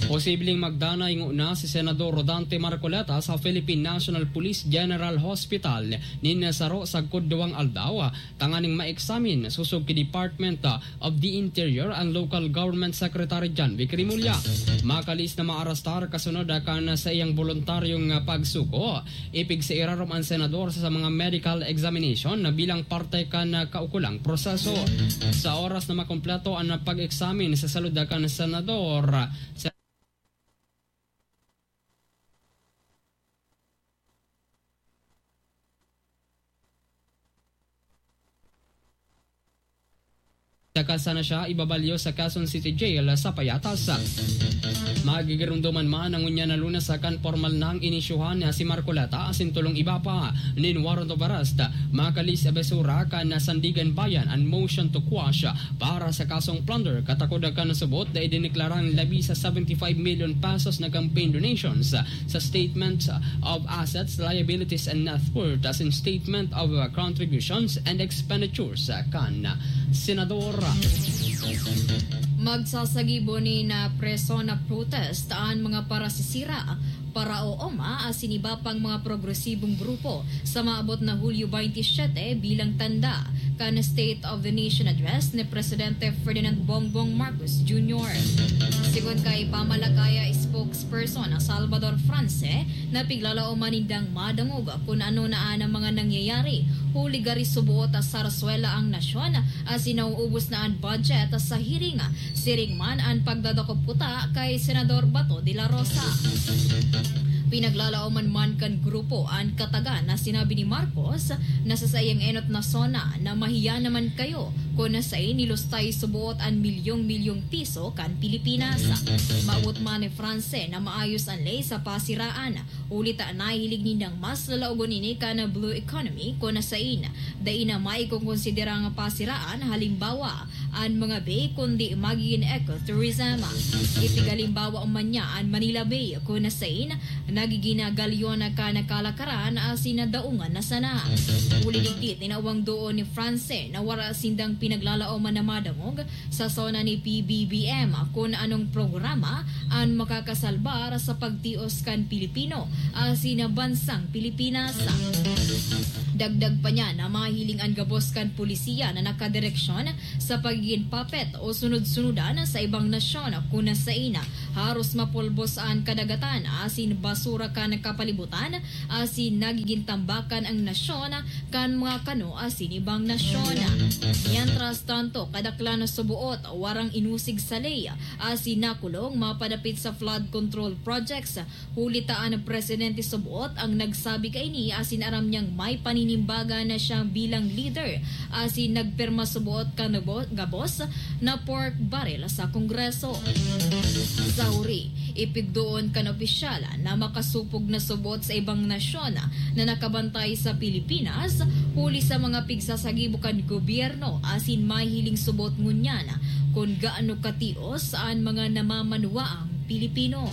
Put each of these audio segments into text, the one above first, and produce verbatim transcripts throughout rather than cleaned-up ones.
Posibleng magdanay ngona si Senador Rodante Marcoleta sa Philippine National Police General Hospital nin saro sagkod duwang aldaw tanganing ma-examine sosog ki Department of the Interior and Local Government Secretary John Vic Remulla. Makalis na maarastar kasunod kan saiyang boluntaryong pagsugo, ipigsa irarom an senador sa mga medical examination na bilang parte kan kaukulang proseso. Sa oras na makompleto an pag-examine sa salud kan senador, saka sana siya ibabalyo sa Quezon City Jail sa Payatas. Magigiromdoman man ang ngunyan na Lunes kan pormal nang inisyuhan na si Marcoleta asin tolong iba pa nin warrant of arrest. Makalis abesura kan Sandigan Bayan an motion to quash para sa kasong plunder, katakod kan subot na idineklarang labi sa seventy-five million pesos na campaign donations sa statement of assets, liabilities, and net worth asin statement of contributions and expenditures kan senador. Magsasagibo nin preso na protest an mga parasisira, paraooma asin iba pang mga progresibong grupo sa maabot na Hulyo twenty-seven bilang tanda kan State of the Nation Address ni Presidente Ferdinand Bongbong Marcos Junior. Sigon kay Pamalakaya spokesperson na Salvador France, na piglalaoman nindang madangog kun ano na an mga nangyayari, huli gari suboot a sarsuela ang nasyon asin nauubos na an budget sa hearing, siring man an pagdadakop kuta kay Senador Bato de la Rosa. Pinaglalaoman man kan grupo an katagan na sinabi ni Marcos na sa saiyang enot na SONA na mahiya naman kayo kun saen nilustay suboot an milyong-milyong piso kan Pilipinas. Maabot man ni France na maayos an ley sa pasiraan, huli ta nahihiling nindang mas lalaogon ini kan blue economy kun saen dai na maikokonsidera ang pasiraan, halimbawa, an mga bay, kundi magigin ecotourism. Ipighalimbawa man niya an Manila Bay, kun saen nagigin galyon kan kalakaran asin daungan na sana. Huli digdi, tinawang doon ni France na wara sindang pinaglalaoman na madangog sa SONA ni P B B M kun anong programa an makakasalbar sa pagtios kan Pilipino asin bansang Pilipinas. Dagdag pa niya na mahiling an gabos kan pulisiya na nakadireksyon sa pagigin puppet o sunod-sunudan sa ibang nasyon, kun saen haros mapulbos an kadagatan asin basura kan kapalibutan asin nagigin tambakan ang nasyon kan mga kano asin ibang nasyon. Mientras tanto, kadaklan na suboot warang inusig sa ley asin nakulong mapadapit sa flood control projects, huli ta an presidente suboot ang nagsabi kaini asin aram niyang may paninimbagan na siya bilang leader asin nagpirma suboot kan bo-, gabos na pork barrel sa Kongreso. Sa huri, ipigdoon kan opisyal na makasupog na suboot sa ibang nasyon na nakabantay sa Pilipinas, huli sa mga pigsasagibo kan gobyerno asin mahiling suboot ngunyan kun gaano katios an mga namamanwaang Pilipino.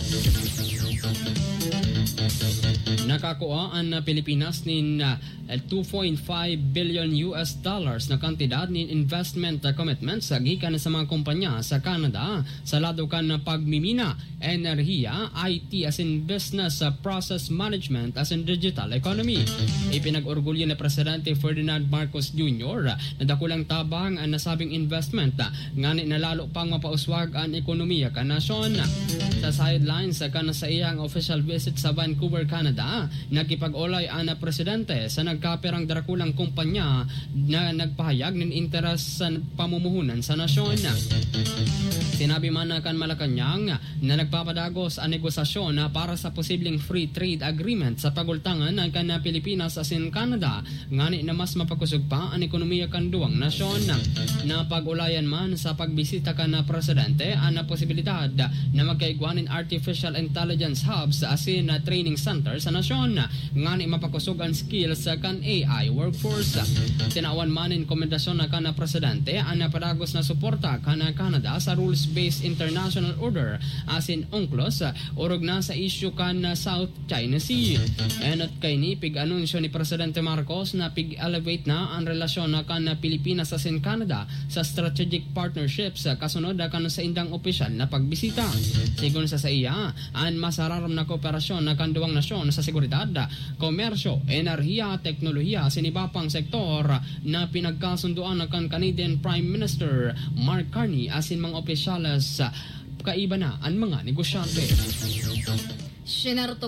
Nakakua an Pilipinas nin, ah, two point five billion U S dollars na kantidad nin investment commitments gikan sa mga kompanya sa Canada sa lado kan pagmimina, enerhiya, I T asin business, ah, process management asin digital economy. Ipinag-orgulyo ni Presidente Ferdinand Marcos Junior na dakulang tabang an nasabing investment, ah, ngani na lalo pang mapauswag an ekonomiya kan nasyon. Sa sidelines kan saiyang official visit sa Vancouver, Canada, nakipag-olay an presidente sa nagkapirang drakulang kompanya na nagpahayag nin interes sa pamumuhunan sa nasyon. Sinabi man kan Malacañang na nagpapadagos an negosasyon para sa posibleng free trade agreement sa pagultangan kan Pilipinas asin Canada, ngani na mas mapakosog pa an ekonomiya kan duwang nasyon. Napag-ulayan man sa pagbisita kan presidente an posibilidad na magkaigwa nin artificial intelligence hubs asin training centers sa nasyon, ngani mapakosog an skills kan A I workforce. Tinawan man nin komendasyon na kan presidente an padagos na suporta kan Canada sa rules-based international order asin UNCLOS, orog na sa isyu kan South China Sea. Enot kaini, pig-anunsyo ni Presidente Marcos na pig-elevate na an relasyon na kan Pilipinas asin Canada sa strategic partnerships kasunod kan saindang opisyal na pagbisita. Sigon sa saiya, an masararom na kooperasyon na kan duwang nasyon sa seguridad, komersyo, enerhiya, teknolohiya asin iba pang sektor na pinagkasundoan na kan Canadian Prime Minister Mark Carney asin mga opisyales, kaiba na an mga negosyante. Sinerto